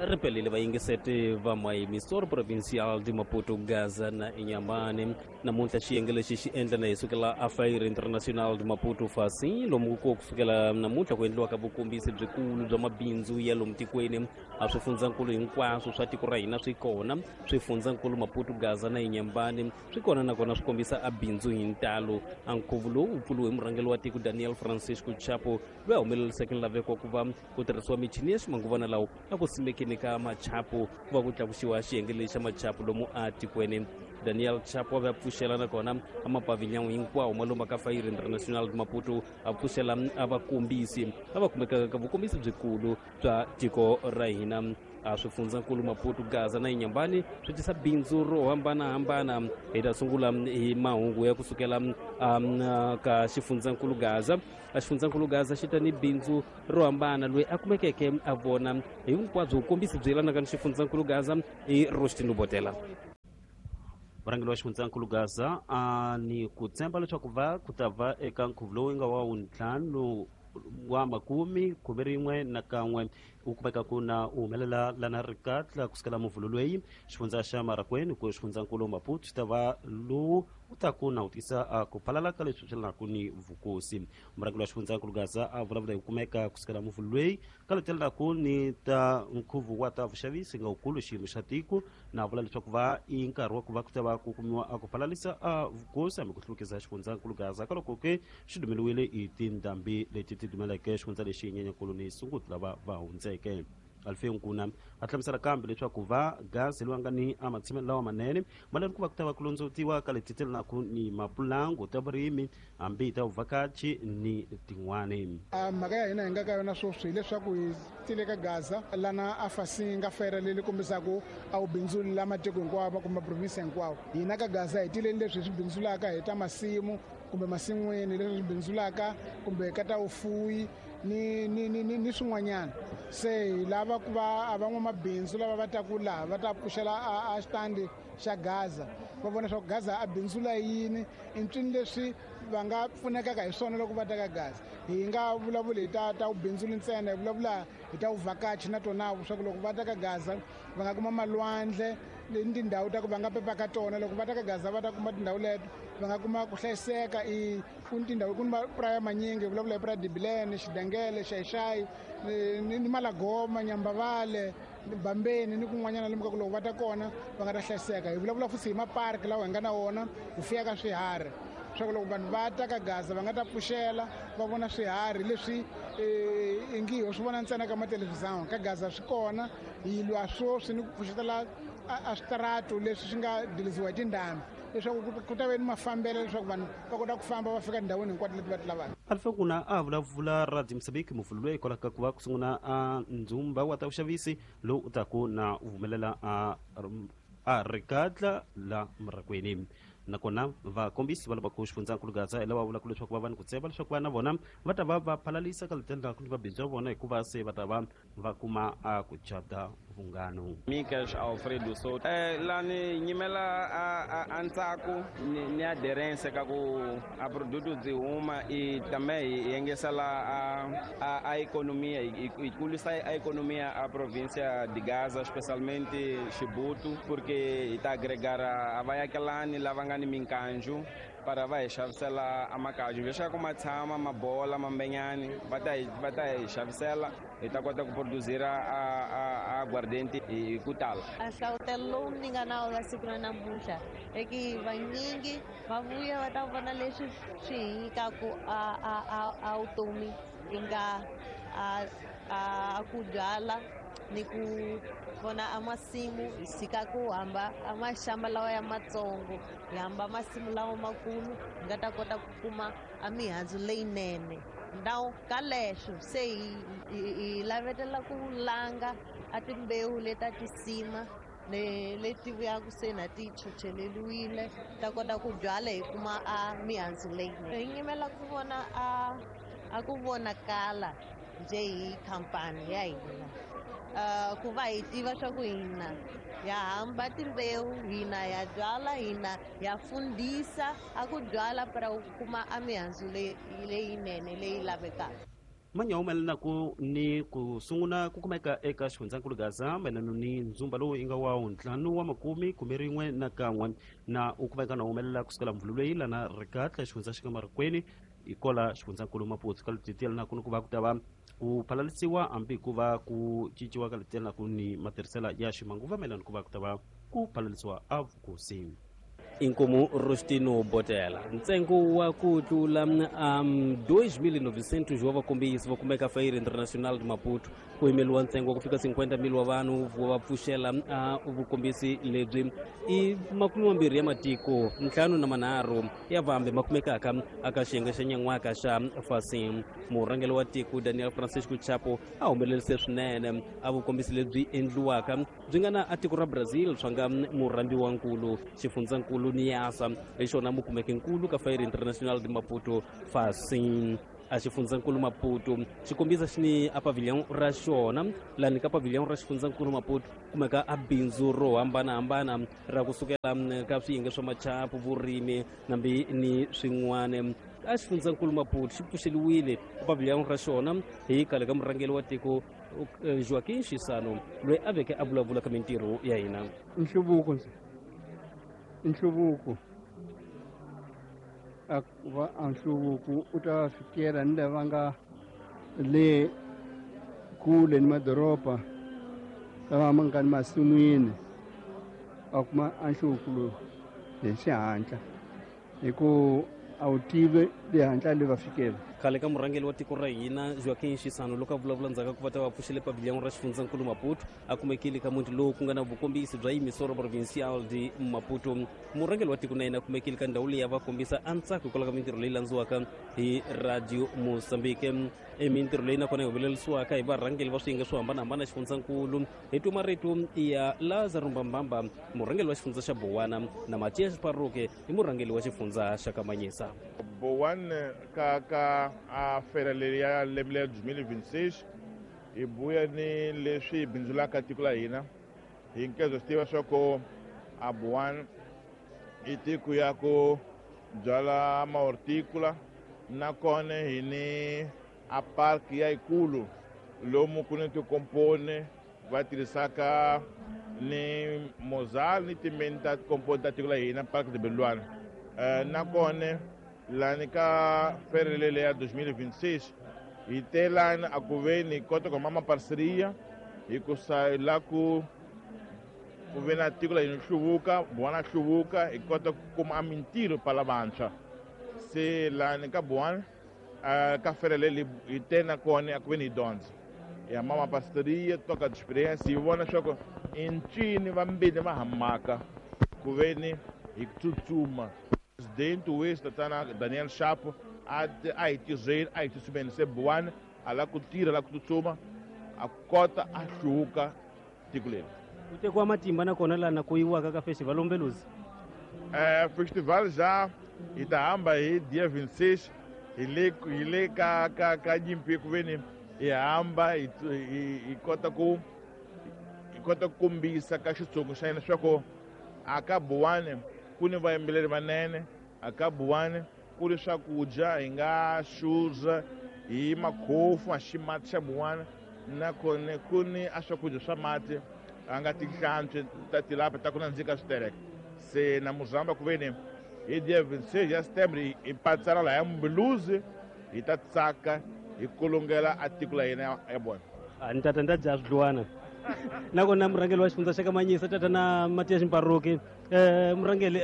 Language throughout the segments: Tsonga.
Ri pelile vayingiseti va Emissora Provincial de Maputo, Gaza na Inhambane. Namuntlha xiyenge lexi xi endla na hi sukela a Feira Internacional de Maputo Fasi, lomu ku kusukela namuntlha ku endliwaka vukombisi byikulu bya mabindzu ya lomu tikweni. A swifundzankulu hinkwaswo swa tiko ra hina swi kona, swifundzankulu Maputo, Gaza na Inhambane swi kona, nakona swi kombisa a bindzu hi ntalo. A nkhuvo lowu wu pfuriwe hi murhangeri wa tiko Daniel Francisco Chapo, loyi a humeleriseke nlaveko wa ku va ku tirhisiwa michini ya ximanguvana lawa a ku simekeni ka machapu, ku va ku tlakusiwa xiyenge lexi xa machapu lomu a tikweni. Daniel Chapo a ve a pfuxela nakona a mapavilhão hinkwawo ma lomu ka Feira Internacional de Maputo, a pfuxela a vakombisi lava kumekaka ka vukombisi byikulu bya tiko ra hina. A swifundzankulu Maputo, Gaza na Inhambane swi tisa bindzu ro hambanahambana. Hi ta sungula hi mahungu ya kusukela ka xifundzankulu Gaza. A xifundzankulu Gaza xi ta ni bindzu ro hambana. Loyi a kumekeke a vona hinkwabyo vukombisi byi yelanaka ni xifundzankulu Gaza i Rostin Botela. Murhangeri wa xifundzankulu Gaza a ni ku tshemba leswaku va ku ta va eka nkhuvo lowu nga wa wuntlhanu wa makume khume rin'we na kan'we u kumeka ku na u humelela lana rikatla kusukela muvhulo loyi xifundza xa Marakweni ku xifundzankulu Maputo xi ta va lowu u ta ku na u tisa ku phalala ka leswi swi lanaku ni vukosi. Murhangeri wa xifundzankulu Gaza a vulavula hi ku kumeka kusukela muvhulo loyi ka letelelaku ni ta nkhuvo wa ta vuxavisi nga wukulu xiyimo xa tiko, na vula leswaku va i nkarhi wa ku va ku ta va ku kumiwa a ku phalalisa a vukosi hambi ku hluvukisa xifundzankulu Gaza ka loko ke xi dumeliwile hi tindhambi leti ti dumeleke xifundza lexi Nyenyankulu ni Sunguti lava va hundzeke. Alfeo Nkuna a hlamusela kambe leswaku va Gaza loyi a nga ni a matshamelo lawa manene malani ku va ku ta va ku londzovutiwa ka leti telenaku ni mapulangu ta vurimi hambi ta vuvhakachi ni tin'wani. Mhaka ya hina hi nga ka yona sweswi hileswaku hi tile ka Gaza lana a fasi nga fera leyi kombisaka a wu bindzuli la matiko hinkwawo kumbe maprovinsi hinkwawo. Hina ka Gaza hi tileni leswi hi swi bindzulaka hi ta masimu kumbe masin'wini, leswi swi bindzulaka kumbe ka ta vufuwi ni ni ni ni, ni swin'wanyana. Se hi lava ku va a van'wamabindzu lava va taku laha va ta pfuxela a xitandi xa Gaza, va vona leswaku Gaza a bindzula yini, i ntswini leswi va nga pfunekaka hi swona loko va ta ka Gaza. Hi nga vulavuli hi ta vubindzuli ntsena, hi vulavula hi ta vuvhakachi na tona, leswaku loko va ta ka Gaza va nga kuma malwandle ni tindhawu ta ku va nga pepa ka tona. Loko va ta ka Gaza va ta kuma tindhawu leto, va nga kuma ku hlayiseka. I ku ni tindhawu, ku ni mapuraya manyingi, hi vulavula hi puraya Dibilene, Xidengele, Xaixai ni Malagoma, Nyambavale, Bambeni ni kun'wanyana lomu ka ku loko va ta kona va nga ta hlayiseka. Hi vulavula futhi hi maparki lawa hi nga na wona, hi fuyaka swiharhi, leswaku loko vanhu va ta ka Gaza va nga ta pfuxela va vona swiharhi leswi ingi ho swi vona ntsena ka mathelevhizani. Ka Gaza swi kona. Hi lwa sweswi ni ku pfuxetela a switaratu leswi swi nga diliziwa hi tindhambi, leswaku ku ta ve ni mafambelo, leswaku vanhu va kota ku famba va fika tindhawini hinkwato leti va ti lavaka. Alfa Nkuna a vulavula Radio Mozambique muvhulo loyi hikwalaho ka ku va ku sungula a ndzumba wa ta vuxavisi lowu u taku na u humelela a rikatla la Murakweni. Nakona vakombisi va lava ku xifundzankulu Gaza hi lava vulaka leswaku va va ni ku tshemba leswaku va na vona va ta va va phalalisa ka letendlaku ni vabindzu va vona, hikuva se va ta va va kuma a ku cata vunghano. Mikas Alfredo Soto lani nyimela a ntsako ni adherence ka ku a produto byi huma i tame hi yengesela a economia, hi kulisa a economia a provincia de Gaza, especialmente Chibuto, porque hi ta agregar a vayakelani lava nga ni minkanju para va hi xavisela a makaju leswaku ma tshama ma bola mambenyani, va ta hi xavisela, hi ta kota ku produzira a aguardente hi ku tala. A hlavutelo lowu ni nga na wona siku ra namuntlha i ki vanyingi va vuya va ta vona leswi swi hi nyikaku a vutomi, yi nga a ku byala ni ku vona a masimu. Hi tshika ku hamba a maxamba lawa ya matsongo, hi hamba masimu lawa makulu, hi nga ta kota ku kuma a mihandzu leyinene. Now ka leswo se hi lavetela ku langa a timbewu leta tisima leti vuyaku se na ti chocheleliwile, ta kota ku byala, hi kuma a mihandzu leyinene. Hi nyimela ku vona a ku vonakala njhe hi khampani ya hina, ku va hi tiva swa ku hina ya hamba timbewu, hina ya byala, hina ya fundisa a ku byala para ku kuma a mihandzu leyinene leyi lavekaka. Manyahumelelanaku ni ku sungula ku kumeka eka xifundzankulu Gaza mayelana ni ndzumba lowu yi nga wa ntlhanu wa makume khume rin'we na kan'we na u kumeka na humelela kusukela mvulu leyi lana rikatla xifundza xi nga marikweni hi kola xifundzankulu Maputo ka leti tiyelanaku ni ku va ku ta va ku phalalisiwa hambi ku va ku cinciwa ka leti tiyelanaku ni matirhisela ya ximanguva mayelana ku va ku ta va ku phalalisiwa a vukosi. Inkomu Rostino Botela ntsengo wa ku tlula 2900 wa vakombisi va kumeka Feira Internacional de Maputo ku yimeliwa ntsengo wa ku fika 50,000 wa vanhu va pfuxela vukombisi lebyi i 20 ya matiko 53 ya vambe ma kumekaka aka xiyenge xa nyan'waka xa Fasim. Murhangeri wa tiko Daniel Francisco Chapo a humelerise swinene a vukombisi lebyi endliwaka byi nga na a tiko ra Brazil swa nga murhambiwankulu xifundzankulu Niasa hi xona mukumeke nkulu ka Feira Internacional de Maputo Fasim. A xifundzankulu Maputo xi kombisa xi ni a pavilion ra xona lani ka pavilion ra xifundzankulu Maputo kumeka a bindzu ro hambanahambana ra kusukela ka swiyenge swa machapu vurimi nambi ni swin'wana. A xifundzankulu Maputo xi pfuxeliwile a pavilion ra xona hi khale ka murhangeri wa tiko Joaquim Chissano loyi a veke a vulavula ka mintirho ya hina. Nhluvuko nhluvuko va a nhluvuko u ta fikela ni lava nga le kule ni madoroba lava ma nga ni masin'wini a kuma a nhluvuko lowu hi xihatla hi ku a wu tivi le hatla le va fikela. Khale ka murhangeri wa tiko ra hina Joaquim Chissano loko a vulavula ndzhaku ku va ta va pfuxele pavilion ra xifundzankulu Maputo a kumekile ka muti lowu ku nga na vukombisi bya Emissora Provincial de Maputo. Murhangeri wa tiko na yena a kumekile ka ndhawu leyi a va kombisa a ntsako hikwalaho ka mintirho leyi landziwaka hi Radio Mozambique. I mintirho leyi nakona yi humelerisiwaka hi varhangeri va swiyenge swo hambanahambana xifundzankulu hi twa marito ya Lazaro Mbambamba murhangeri wa xifundza xa Bowana na Matias Paroke i murhangeri wa xifundza xa Kamanyisa. Bowana ka a fera leyi ya lembe ya 2026 hi buya ni leswi hi bindzulaka tiko la hina hi nkezo swi tiva swa ku a Bowana i tiko ya ku byala mahorticola nakona hi ni a park ya yikulu lomu ku ni tikomponi va tirhisaka ni mozal ni timeni ta tikomponi ta tiko la hina Park de Belwana. Nakona lani ka ferelele ya 2026 hi telani a ku ve ni kota ku mama parceria hi ku sa la ku ve na tiko la hina hluvuka Bowana hluvuka hi kota ku kuma mintirho pala vantshwa se lani ka Bowana ka ferelele hi tena kona a ku ve ni hi dyondza ya mama parceria toka de experiência hi vona swa ku i ncini vambirhi va hamaka ku ve ni hi tsutsuma. Presidente wesi tatana Daniel Chapo a hi tirheni a hi tsutsumeni se Bowana a lava ku tirha la ku tsutsuma a kota a hluvuka tiko leri. Ku tekiwa matimba nakona lana ku yiwaka ka festival Umbeluzi. Festival ja hi ta hamba hi dia 26 hi le ka nyimpi ku ve ni hi hamba hi kota ku kombisa ka xitsongo xa hina swa ku a ka Bowana ku ni vayimbeleri vanene a ka Bowana ku ri swakudya hi nga xuza hi makhofu a ximati xa Bowana nakona ku ni a swakudya swa mati a nga tinhlantswi ta tilapa ta ku nandzika switereka se na muzamba ku ve ni hi dia 26 ya September hi patsala laha ya Mbeluzi hi ta tsaka hi kulungela a tiko la hina ya Bowana. Ni tata ni ta dya swidluwana nakona murhangeri wa xifundza xa Kamanyisa tata na Matias Mparuki murhangeri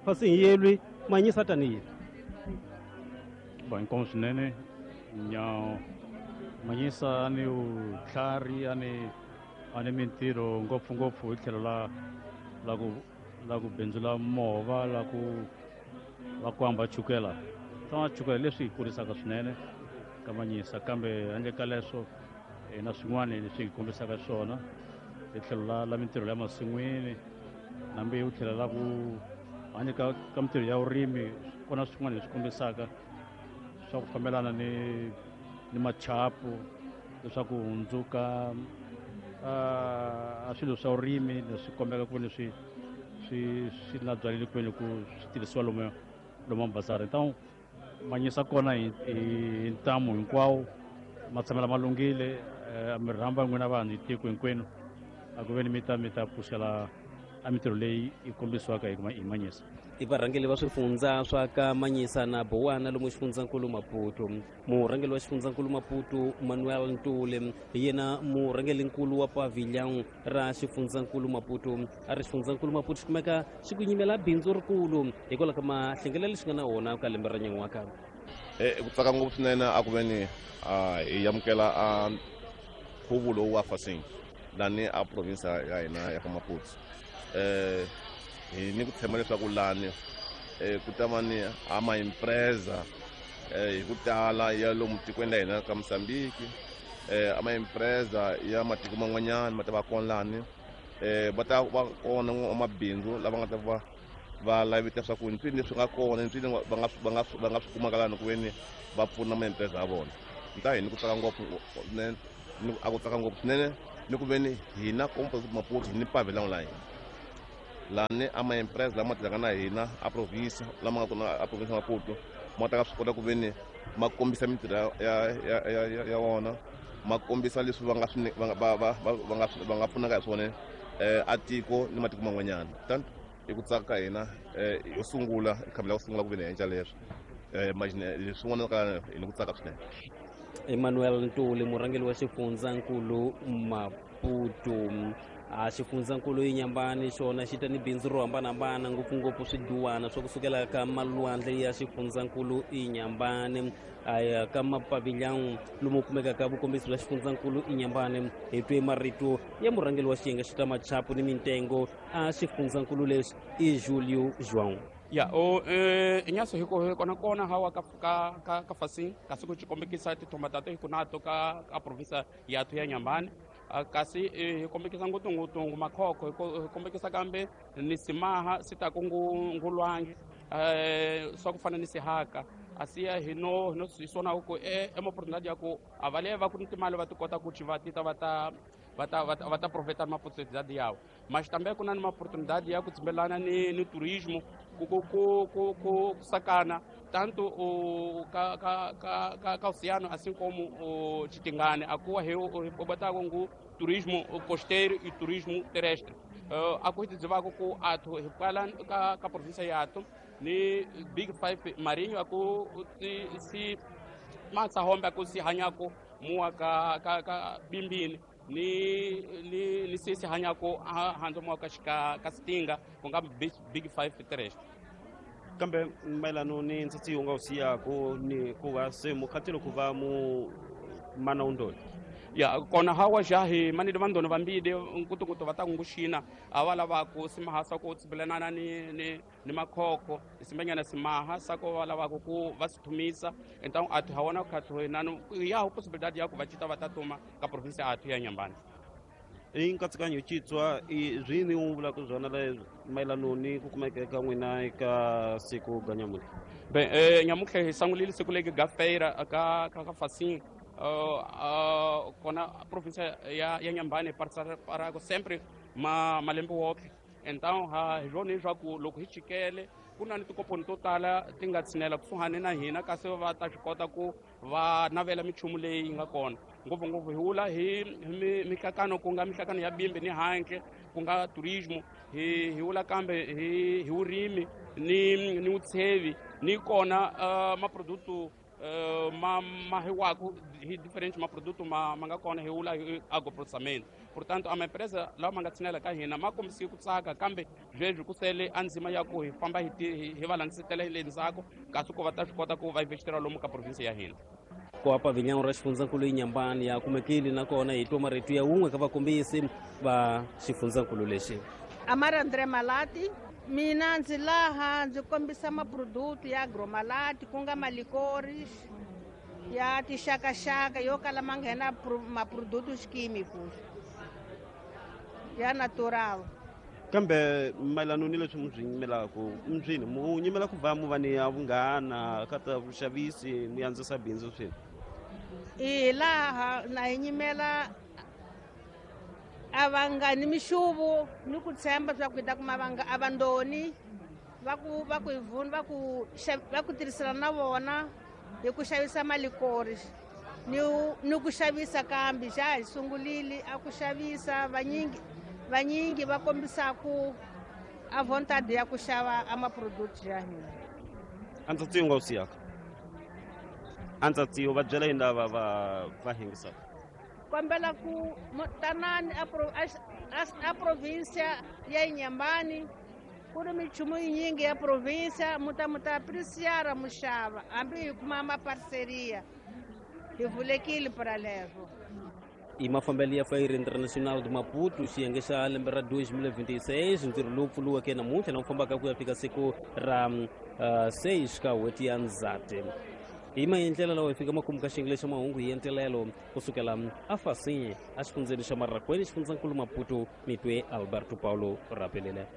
fasi hi yelwi Manyisa tanihi ba inkomu swinene nya Manyisa ni vutlhari a ni mintirho ngopfungopfu hi tlhelo la ku bindzula movha la ku hamba chukela tama chukela leswi hi kurisaka swinene ka Manyisa kambe handle ka leswo hi na swin'wana leswi hi kombisaka swona hi tlhelo la mintirho ya masin'wini nambi u tlhela la ku handle ka mintirho ya vurimi kona swin'wana leswi kombisaka swa ku fambelana ni machapu leswaku hundzuka a swilo swa vurimi leswi kombeka ku leswi swi la byaleli kwini ku swi tirhisiwa lomu mabazari. Então Manyisa kona hi ntamu hinkwawo ma tshamela ma lunghile mi rhamba n'wina vanhu hi tiko hinkwenu a ku veni mi ta pfuxela a mintirho leyi yi kombisiwaka hi Manyisa. I varhangeri va swifundza swa ka Manyisa na Bowana lomu xifundzankulu Maputo. Murhangeri wa xifundzankulu Maputo Manuel Ntuli hi yena murhangerinkulu wa pavilhão ra xifundzankulu Maputo. A ri xifundzankulu Maputo xi kumeka xi ku nyimela bindzu rikulu hikwalaho ka mahlengelelo lexi nga na wona ka lembe ra nyan'waka. Ku tsaka ngopfu swinene a ku veni hi amukela a nkhuvo lowu wa Facim lani a province ya hina ya ka Maputo. Hi ni ku tshemba leswaku lani ku ta va ni a maempresa hi ku tala ya lomu tikweni la hina ka Mozambique, a maempresa ya matiko man'wanyana ma ta va kona lani, va ta va kona mabindzu lava nga ta va va lavita swa ku ntswini leswi nga kona ntswini va nga swi kumaka lani ku veni va pfuna maempresa ya vona. Nta hi ni ku tsaka ngopfu a ku tsaka ngopfu swinene ni ku veni hina Maputo hi ni pavilhão la hina lani a maempresa lama tirhaka na hina a province lama nga kona a province ya Maputo ma ta swi kota ku veni ma kombisa mintirho ya wona, ma kombisa leswi va nga swi va nga pfunaka hi swona a tiko ni matiko man'wanyana. Tanto i ku tsaka ka hina yo sungula khambi la ku sungula ku veni hi endla leswi leswin'wana ka hi ni ku tsaka swinene. Emmanuel Ntuli murhangeri wa xifundzankulu Maputo. A xifundzankulu Inhambane xona xi ta ni bindzu ro hambanahambana ngopfungopfu swiduwana swa kusukela ka malwandle ya xifundzankulu Inhambane aya ka mapavilhão lomu kumekaka vukombisi bya xifundzankulu Inhambane. Hi twe marito ya murhangeri wa xiyenge xa ta machapu ni mintengo a xifundzankulu lexi i Julio João. Ya o inyaso hiko kona kona hawa ka Facim kasi ku xikombekisa tithomba tato hi kunato ka province yathu ya Inhambane. Kasi hi kombekisa ngopfungopfu makhokho, hi kombekisa kambe ni simaha si ta ku ngulwangi swa ku fana ni sihaka asiya hi no hi swona ku e oportunidade ya ku a va le va ku ni timali va ti kota ku va tita va ta profeta ma oportunidade yawo. Mas também ku na ni oportunidade ya ku tsimbelana ni turismo ku sakana tanto o ka oceano assim como o Chitingane akuwa he botako ngu turismo costeiro e turismo terrestre. A coisa de vago ku ato repala ka província ya ato ni Big Five marinho aku si matsa homba ku si hanyako mua ka bimbini ni sisi hanyako hanzo mua ka ka sitinga ku nga Big Five terrestre. Kambe mayelano ni ntsatsi wu nga wu siyako ni ku va se mukhatelo ku va mu mana undoni ya kona hawa jahi manide vandoni vambide nkutukutu va ta nguxina a va lavaku simaha swa ku tsibelanana ni makhokho simbanyana simaha swa ku va lavaku ku va si thumisa. Então athu hawana khathu nanu ya possibilidade ya ku va cita va ta tuma ka province athu ya Inhambane. I nkatsakanyo citswa i zwini u vulaka swona mayelano ni ku kumeka ka n'wina eka siku ga nyamuntlha? Bem, nyamuntlha hi sangulile siku legi ga feira ka Facim kona a província ya Inhambane parako sempre malembe woke. Então hi swona leswaku loko hi chikele ku na ni tikoponi to tala ti nga tshinela kusuhani na hina kasi va ta swi kota ku va navela minchumu leyi nga kona ngopfungopfu hi wula hi mihlakano ku nga mihlakano ya bimbi ni handle ku nga turismo hi wula kambe hi vurimi ni vutshevi ni kona maproduto ma hiwaku hi diferente maproduto ma nga kona hi wula hi agroprocessamento. Portanto a maempresa lawa ma nga tshinela ka hina ma kombisile ku tsaka kambe sweswi ku sele a ndzima ya ku hi famba hi va landzetela le ndzhaku kasi ku va ta swi kota ku va investira lomu ka province ya hina. Ku pavilhão ra xifundzankulu Inhambane ya kumekile nakona hi twa marito ya wun'we ka vakombisi va xifundzankulu lexi. Amara André Malati, mina ndzi laha ndzi kombisa maproduto ya agromalati ku nga malikori ya tixakaxaka yo kala ma nghena maproduto xikimiku ya natural. Kambe mayelano ni leswi mi swi nyimelaka mbyini mu nyimela ku va mu va ni ya vunghana ka ta vuxavisi mu andzisa bindzu swini? I laha na hi nyimela a vangani mixuvo ni ku tshemba swa ku hi ta kuma a vandoni Va ku va ku hi vuni va ku va ku tirhisana na vona hi ku xavisa malikori ni ni ku xavisa, kambe xa hi sungulile a ku xavisa. Vanyingi vanyingi va kombisa ku a vontade ya ku xava a maproduct ya hina. A ndza tsiyo nga wu siyaka, a ndza tsiyo va byela yini lava va va hingisaka? Kombela ku tanani a provincia ya Inhambane, ku ri minchumu yinyingi ya provincia, mu ta mu ta apreciara, mu xava, hambi hi kuma maparceria, hi vulekile para levo. I mafambelo ya Feira Internacional de Maputo, xiyenge xa lembe ra 2026, ntirho lowu pfuriweke namuntlha na wu fambaka ku ya fika siku ra 6 ka n'hweti ya Ndzhati. Hi maendlelo lawa hi fika makumu ka xiyenge xa mahungu hi entelelo kusukela afasinye exifundzeni xa Marracuene, xifundzankulu Maputo. Mitwe Alberto Paulo rapelele.